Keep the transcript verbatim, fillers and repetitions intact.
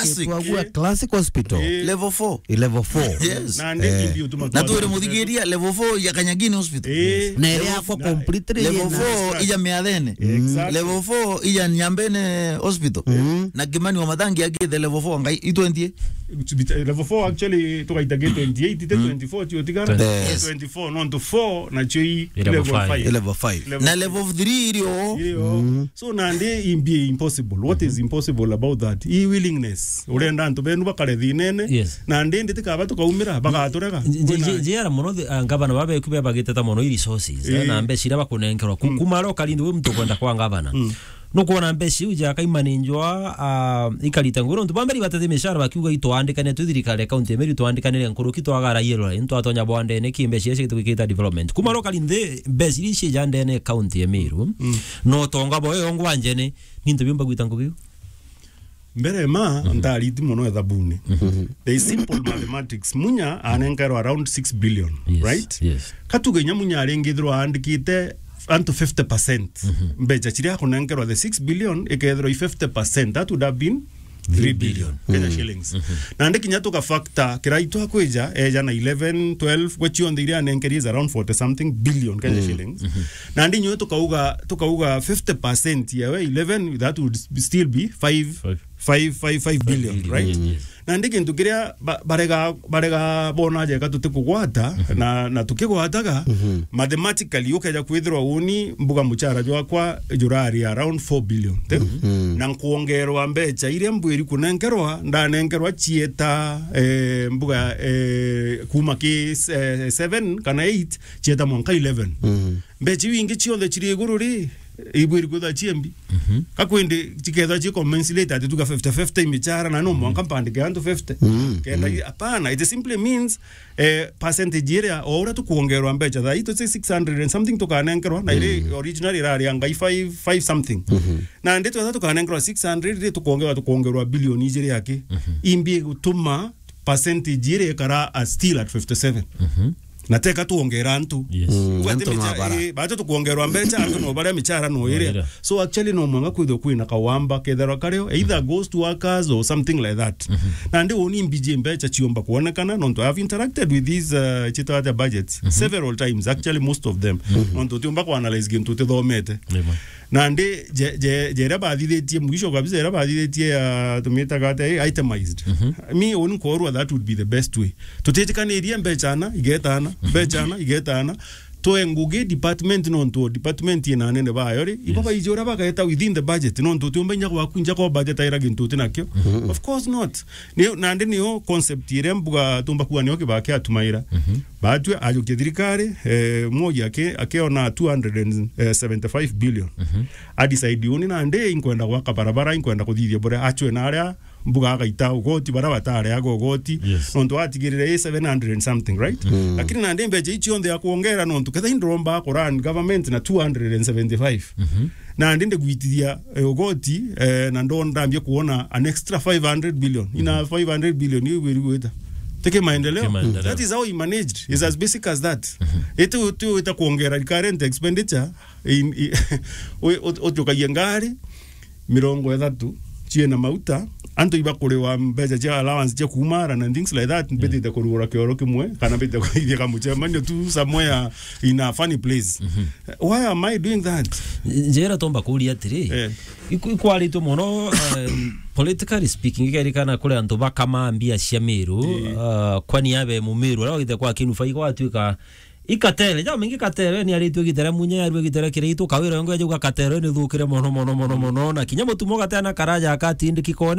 Classic. Twagua Classic Hospital. Eh. Level four. Eh, level four. Yes. Na ndi Eh. imbi utuma Na kwa twere muthigiria level four ya Kanyagini Hospital. Eh. Na ere Level akwa na completely Level na four ija Miathene. Exactly. Level four ija Nyambene Hospital. Mm. Na Kimani wa Mathangi agithe level four ngai i twenty. Level four actually tugaita ge twenty-eight, ite Mm. twenty-four tio tigara. Yes. Twenty-four, nontu four na cio i Level level five. five. Level five. Level Na five. Level three irio. Irio. Mm. So, nandi imbi impossible. What is impossible about that? I willingness. Urenda antu benu bakare thinene. Yes. Nandi ndi tikaba tukaumira, bagaturega. Nje-, nje-, Kwina njera mono the, ah, ngavana babeku bebagiteta mono i resources, eh, Eh. na mbeca iria bakunenkerwa. Ku-, Mm. kuma ro kari ndi we muntu kwenda kwa ngavana. Mm. Nukwona mbeca iu ja kaimanenjwa, ah, ikarita nguru. Ntu bamberi batete mishara bakiuga itwandikane tu thirikari ya kaunti ya Meru, itwandikanire nkuruki twagara yellow line, twatonya bwandene ki mbeca iria cigitwikita development. Kuma ro kari nthi mbeca iria cia ndene kaunti ya Meru. Mm. No tonga boyo ngwanjene, ni ntu biumba gwita ngugi u? Mbere ma, mhm, ntariti mono ethabuni. Mhm. The simple mathematics. Munya anenkerwa around six billion, yes, right? Yes. Katuge inya Munya aringithirwa aandikite antu fifty percent. Mhm. Mbeca ciria akunenkerwa the six billion, ikethirwa i fifty percent. That would have been three billion Kenya, mhm, shillings. Mhm. Nandi kinya tuka factor, kira itu akwija, eja na eleven, twelve, gwe cionthe iria anenkeri is around forty something billion Kenya, mm, shillings. Mhm. Nandi inyuĩ tukauga, tukauga fifty percent ya we eleven, that would still be five, five, five, five billion, right? Yes, yes. Nandi kintu kiria ba-, barega, barega bona jeka tutikugwata, mhm, na, na tukigwataga, mhm, mathematically ukeja kwithirwa uni mbuga muchara jwakwa jurari around four billion, te? Mhm. Na nkuongerwa mbeca iria mbwiri kunenkerwa, ndanenkerwa cieta, eh, mbuga, eh, kuma ki, eh, seven kana eight, cieta mwanka eleven. Mhm. Mbeca iu ingi cionthe ciri iguru ri, ibwiri kwithwa ciembi. Mhm. Kakwindi cikethwa ci commensurate ati tuga fifty fifty imichara na no mwanka mpandike antu fifty. Mm. Kenda, mm, i-, hapana, it simply means, eh, percentage iria o uria tukuongerwa mbeca thaa ii tuti six hundred and something tukanenkerwa, na iri, mm, original irari ya ngai five, five something. Mhm. Na ndi twetha tukanenkerwa six hundred ri tukuongerwa, tukuongerwa billion ijiri aki. Mhm. Imbi gutuma percentage iria ikara a still at fifty seven. Mhm. Na teka tuongera antu. Yes. Mm, ugwe ati antu micha-, mabara. Eh, batu tukuongerwa mbecha, antu no baria michara no iria. No iria. So actually no mwanga kwithwa kwina kawamba kethirwa kario, either ghost workers or something like that. Mhm. Na ndi uni mbiji mbecha ciomba kuonekana, nontu I have interacted with these, uh, chitwa ata budgets, mhm, several times, actually most of them. Mhm. Nontu tiomba ku analyze gintu tithomete. Nima. Nandi je-, je-, jeria bathithitie, mwisho kabisa jeria bathithitie ya tumitaga ata, eh, itemized. Mhm. Mi uni nkorwa that would be the best way. Tutitikanirie mbecha ana, igetana, mbecha ana, igetana. Toe ngugi department nontu department ina anene bayo ri, ibo, yes, baiji uria bageta within the budget, nontu tiumba inya gwaku nja ko budget aira gintu uti nakio. Mhm. Of course not. Ni, nandi niyo concept iria mbuga tumba kuwa niyo kibaa kia tumaira. Mhm. Batue ajukia thirikari, eh, Mwogi aki-, akiona two hundred and seventy-five billion. Mhm. A decide uni nandi inkwenda gwaka barabara, inkwenda kuthithia buria achwe na aria mbuga agaita ugoti, baria batareaga ugoti. Yes. Nontu atigirire i seven hundred and something, right? Mm. Lakini nandi mbecha ici cionthe ya kuongera nontu ketha indromba ku run government na two hundred and seventy-five. Mhm. Nandi ndigwitithia, eh, ugoti, eh, na ndo ndambia kuona an extra five hundred billion. Ina, mhm, five hundred billion iu wiri gwita. Tiki maendeleo. Tiki maendeleo. That is how he managed. It's as basic as that. Mhm. Iti, ti wita kuongera recurrent expenditure in, i-, wi-, ut-, utukagia ngari mirongo ithatu ciina mauta, antu ibakuriwa mbecha cia allowance cia kuumara na things like that, mbitite kurugura kioro kimwe, kana mbitite kuithia kamucemanio tu somewhere in a funny place. Mhm. Why am I doing that? Njira tomba kuria atiri, eh, iku-, ikwaritwe mono, um, politically speaking, ikerikana kuri antu bakama mbia cia Miru, eh, uh, kwani abe Mumiru, aria wagite kwa Kinuba, igwatuika ikatele, ja mingi katele, ni aritwe gitele Munya, yarue gitele Kiraitu, kawira yongo yajauga katele ni thukire mono, mono, mono, mono, na kinya mutumo gatena karaja akatindiki kone,